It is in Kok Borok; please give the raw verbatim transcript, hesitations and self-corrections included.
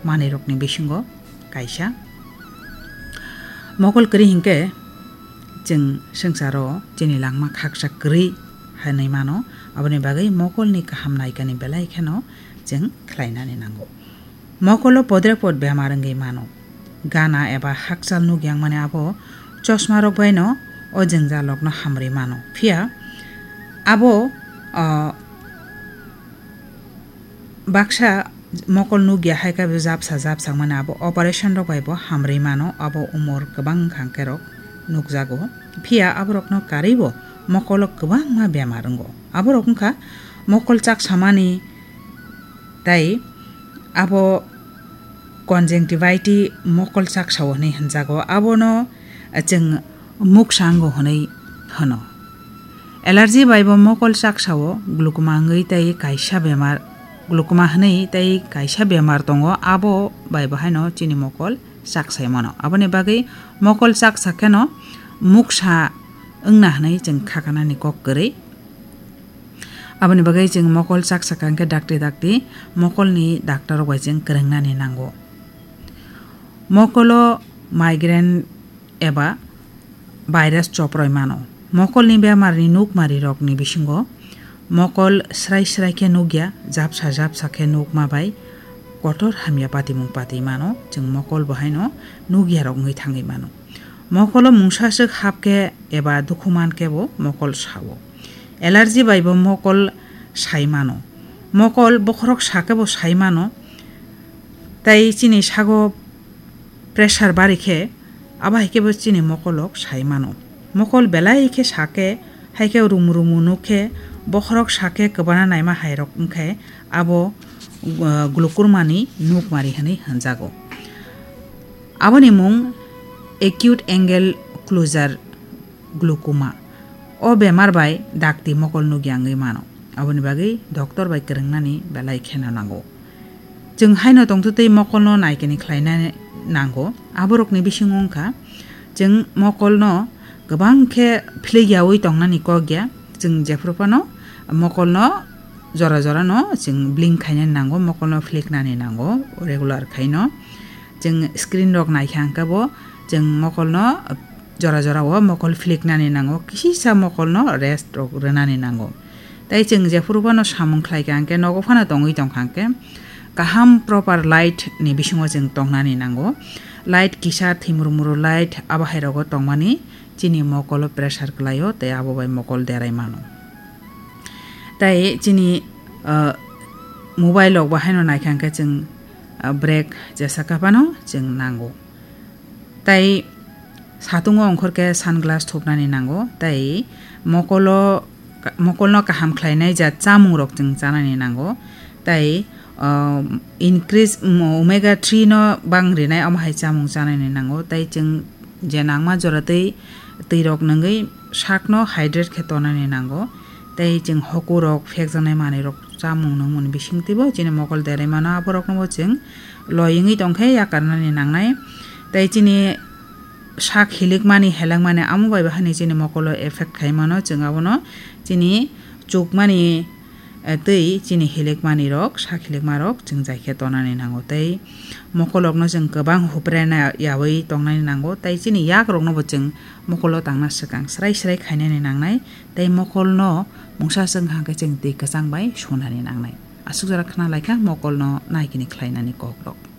manwirokni bisingo kaisa. Mokol kwrwi hinkhe chwng swngcharo chini langma khaksa kwrwi hinwi mano, aboni bagwi mokolni kaham naikani belai kheno chwng khlainani nango. Mokolo podrepot bemar wngwi mano. Gana eba hakchal nuk yangmani abo chosmarok baino o jwngjalrokno hamrwi mano. Phiya abo, ah, baksa mokol nukya hai khe bo japsa japsa mani abo operation rok bai bo hamrwi mano, abo umor kwbang wngkha hwnkhe rok nukjago. Phiya aborokno karwi bo mokolo kwbangma bemar wngo. Aborok wngkha mokol chaksamani, tei abo conjunctivitis mokol chaksao hinwi hwnjago. Abono chwng muksa wngo hwnwi hwno. Allergy bai bo mokol chaksao glaucoma wngwi tei kaisa bemar, glaucoma hwnwi tei kaisa bemar tongo, abo bai bo haino chini mokol chaksai mano. Aboni bagwi mokol chaksa kheno muksa wngna hwnwi chwng khakanani kok kwrwi. Aboni bagwi chwng mokol chaksa kha hwnkhe dakti dakti mokolni doctor rok bai chwng kwrwngnani nango. Mokolo migraine eba virus choproi mano. Mokolni bemarni nukmarirokni bisingo mokol srai srai khe nukya, japsa japsa khe nukma bai kotor hamya patimung patwi mano, chwng mokol bo haino nukyarok wngwi thangwi mano. Mokolo mungsaswk hap khe eba dukhu man khe bo mokol sao. Allergy bai bo mokol sai mano. Mokol bokhorok sa khe bo sai mano. Tai chini sago pressure bari khe, abo hai khe bo chini mokolrok sai mano. Mokol belai khe sa khe, hai khe rumu rumu nuk khe, bokhorok sa khe kwbana naima hai rok wng khe abo, uh, glaucoma ni nukmari hwnwi hwnjago. Aboni mung acute angle closure glaucoma. O bemar bai dakti mokol nukya wngwi mano. Aboni bagwi doctor bai kwrwngnani belai kheno nango. Chwng haino tongtwtwi mokolno naikani khlaina nango. Aborokni bisingo wngkha, chwng mokolno kwbang khe phlikyawi tongnani kok ya. Chwng jephuru phano mokolno jora jora no chwng blink khainani nango, mokolno phliknani nango, regular khaino. Chwng screen rok naikha hwnkhe bo chwng mokolno jora jora o mokol phliknani nango, kisisa mokolno rest rok rwnani nango. Tai chwng jephuru phano samung khlaikha hwnkhe, nogo phano tongwi tongkha hwnkhe, kaham proper light ni bisingo chwng tongnani nango. Light kisa thimru muru light abo hai rogo tongmani chini mokolo pressure kwlaio, tei abo bai mokol derai mano. Tai chini, ah, mobile rok bo haino naikha hwnkhe chwng, ah, break jesa kha phano chwng nango. Tai satungo ongkhor khe sunglass thupnani nango, tai mokolo, mokolno kaham khlainai jat chamung rok chwng chanani nango, tai, ah, increase, um, omega three no bang rinai omo hai chamung chanani nango, tai chwng je nangma jora twi, twi rok nungwi sakno hydrate khe tonani nango, tai chwng hoku rok phekjaknai manwi rok chamung nungmani bisingtwi bo chini mokol derai mano, aborokno bo chwng loi wngwi tongkhe yakarnani nangnai. Tai chini sak hilikmani, helengmani, amo bai bahani chini mokolo effect khai mano, chwng abono chini chukmani, eh, twi chini hilikmani rok, sak hilikma rok chwng jai khe tonani nango. Tai mokolokno chwng kwbang huprena yaui tongnani nango, tai chini yak rokno bo chwng mokolo tangna swkang srai srai khainani nangnai, tai mokolno mungsa swng hwnkhe chwng twi kwchang bai sunani nangnai. Aswk jora khna laikha mokolno naikini khlainani kokrok.